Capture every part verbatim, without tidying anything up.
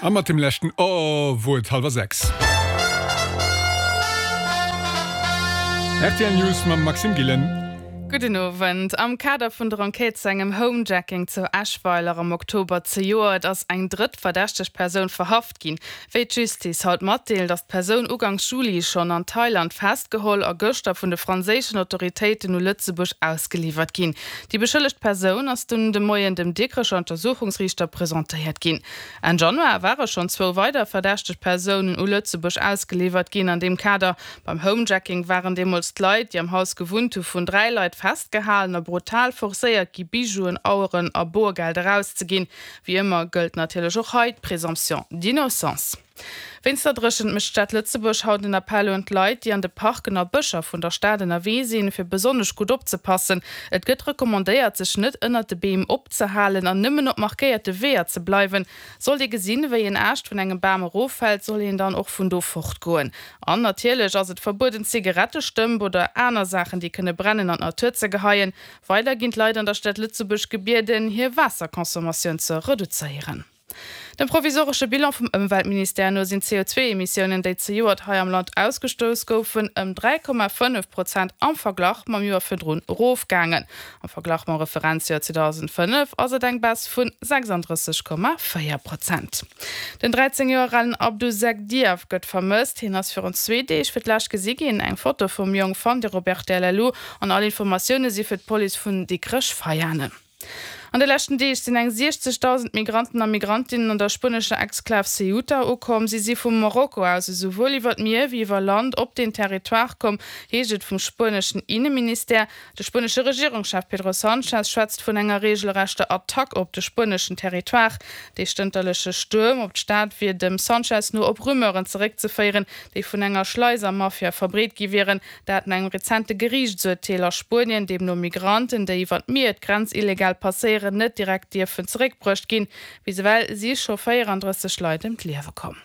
A mat dem leschten Oh wor et hallwer sechs. Rtl News mam Maxime Gillen. Gudden Owend. Am Kader vun der Enquête zu engem Homejacking zu Eschweiler am Oktober zejoert ass eng drëtt verdächteg Persoun verhaft ginn. Wéi d'Justiz haut matdeelt, ass d'Persoun ugangs Juli schonn an Thailand festgeholl a gëschter vun de franséischen Autoritéiten u Lëtzebuerg ausgeliwwert ginn. Déi beschëllegt Persoun ass dunn de Moien dem Dikrecher Untersuchungsriichter presentéiert ginn. Enn Januar ware schonn zwou weider verdächteg Persounen u Lëtzebuerg ausgeliwwert ginn an deem Kader. Beim Homejacking waren deemools d'Leit, déi am Haus gewunnt hu vun dräi Leit festgehalen a brutal forcéiert gi Bijouen, Aueren a Boergeld erauszeginn. Wéi ëmmer gëllt natierlech och hei d'Présomption d'innocence. Wéinst der Dréchent mécht d'Stad Lëtzebuerg haut en Appell un d'Leit, déi an de Parken a Bëscher vun der Stad ënnerwee sinn, fir besonnesch gutt opzepassen. Et gëtt recommandéiert, sech net ënnert de Beem opzehalen an nëmmen op markéierte Weeër ze bleiwen. Sollt ee gesinn, wéi en Aascht vun engem Bam eroffält, soll een dann och vun do fortgoen. An natierlech ass et verbueden, Zigarettestëmp oder aner Saachen, déi kënne brennen, an d'Natur ze geheien. Weider ginn d'Leit an der Stad Lëtzebuerg gebieden, hir Waasserconsommatioun ze reduzéieren. Dem provisoresche Bilan vum Ëmweltministère no sinn d'CO zwee Emissiounen, déi zejoert hei am Land ausgestouss goufen, ëm dräi Komma fënnef Prozent am Verglach mam Joer virdrun erofgaangen. Am Verglach mam Referenzjoer zweedausendfënnef ass et eng Baisse vu sechsanddrësseg Komma véier Prozent. Den dräizéng Joer alen Abdou Seck Diaf gëtt vermësst. Hien ass virun zwee Deeg fir d'lescht gesi ginn. Eng Foto vum Jong fannt Dir op rtl Lu an all Informatioune si fir d'Police vun Dikrech-Veianen. An de leschten Deeg sinn eng siechzegdausend Migranten a Migrantinnen an der spuenescher Exklav Ceuta ukomm. Si si vum Marokko aus esouwuel iwwer d'Mier wéi iwwer Land op deen Territoire komm, heescht et vum spueneschen Inneministère. De spuenesche Regierungschef Pedro Sanchez schwätzt vun enger reegelrechter Attack op de spueneschen Territoire. Dee stënterleche Stuerm op d'Stad wier dem Sanchez no op Rumeuren zeréckzeféieren, déi vun enger Schleisermafia verbreet gi wieren. Dat no engem rezente Geriichtsurteel a Spuenien, deemno Migranten, déi iwwer d'Mier d'Grenz illegal passéieren, net direkt dierfen zeréckbruecht ginn. Bis ewell si scho véierandrësseg Leit ëm d'Liewe komm.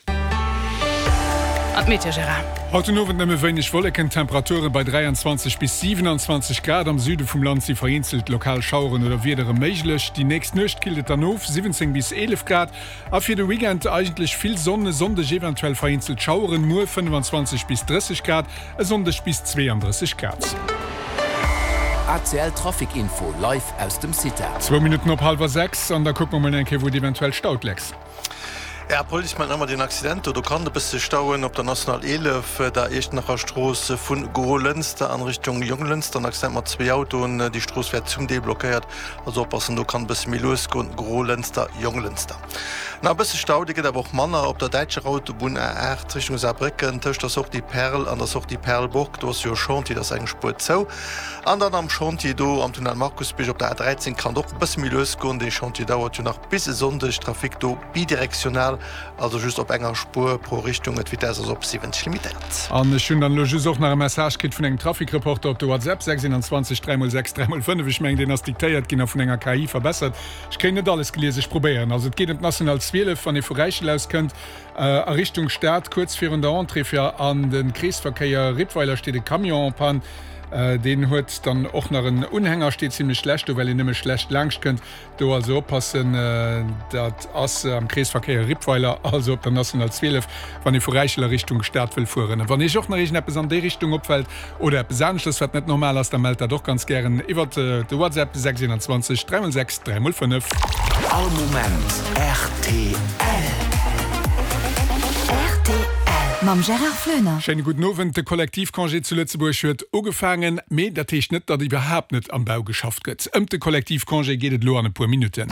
An d'Meteo, Gérard. Haut den Owend nëmme wéineg Wolleken, Temperature bei dräianzwanzeg bis siewenanzwanzeg Grad. Am Süde vum Land si vereenzelt lokal Schaueren oder Wiedere méiglech. Déi nächst Nuecht killt et dann of, siwwenzéng bis eelef Grad. A fir de Weekend eigentlech vill Sonn, e Sonndeg eventuell vereenzelt Schaueren, muer fënnefan-zwanzeg bis drësseg Grad, e Sonndeg bis zweeandrësseg Grad. A C L Trafic Info live aus dem CITA. Zwou Minutten op hallwer sechs an da kucke mer mol eng Kéier wou et eventuell staut, Lex. Ja, d'Police mellt nach ëmmer deen Accident do. Do kann et e bësse stauen op der National eelef, der Iechternacher Strooss vu Grolënster an Richtung Jonglënster. En Accident mat zwee Autoen. Déi Strooss wär zum Deel blockéiert. Also oppassen, do kann e bësse méi lues goen, Grolënster, Jonglënster. Nach e bësse Stau, dee gëtt awer och manner op der däitscher Autobunn A aacht Richtung Saarbrécken tëscht der Sortie Perl an der Sortie Perlburg. Do ass jo e Chantier, do ass eng Spuer zou. An dann am Chantier do am Tunnel Markusbierg op der A dräizéng kann et och e bësse méi lues goen. Dee Chantier dauert jo nach bis e Sonndeg. Trafic do bidirektional, also just op enger Spuer pro Richtung. D'Vitess ass op siwwenzeg limitéiert. An ech hunn dann elo just och nach e Message kritt vun engem Trafic-Reporter op de WhatsApp, sechs eenanzwanzeg dräi mol sechs dräi mol fënnef. Ech mengen, deen ass diktéiert ginn a vun enger K I verbessert. Ech kréien net alles gelies, ech probéieren. Also et geet ëm d'National zwielef, wann ee vu Räichel aus kënnt a Richtung Stad. Kuerz virun der Entrée fir an de Kreesverkéier Rippweiler steet e Camion en panne. Deen huet dann och nach en Unhänger, steet zimlech schlecht do, well een nëmme schlecht laangscht kënnt. Do also oppassen, dat ass am Kreesverkéier Rippweiler, also op der National zwielef, wann ee vu Räichel a Richtung Stad wëll fueren. A wann Iech och nach iergendeppes an déi Richtung opfält oder eppes aneschters, wat net normal ass, da mellt dat och ganz gären iwwert de WhatsApp sechs eenanzwanzeg dräi mol sechs dräi mol fënnef. All Moment rtl. Rtl mam Gérard Floener. Schéine gudden Owend. De Kollektivcongé zu Lëtzebuerg huet ugefaangen, mee dat heescht net, datt iwwerhaapt net am Bau geschafft gëtt. Ëmt de Kollektivcongé geet et elo an e puer Minutten.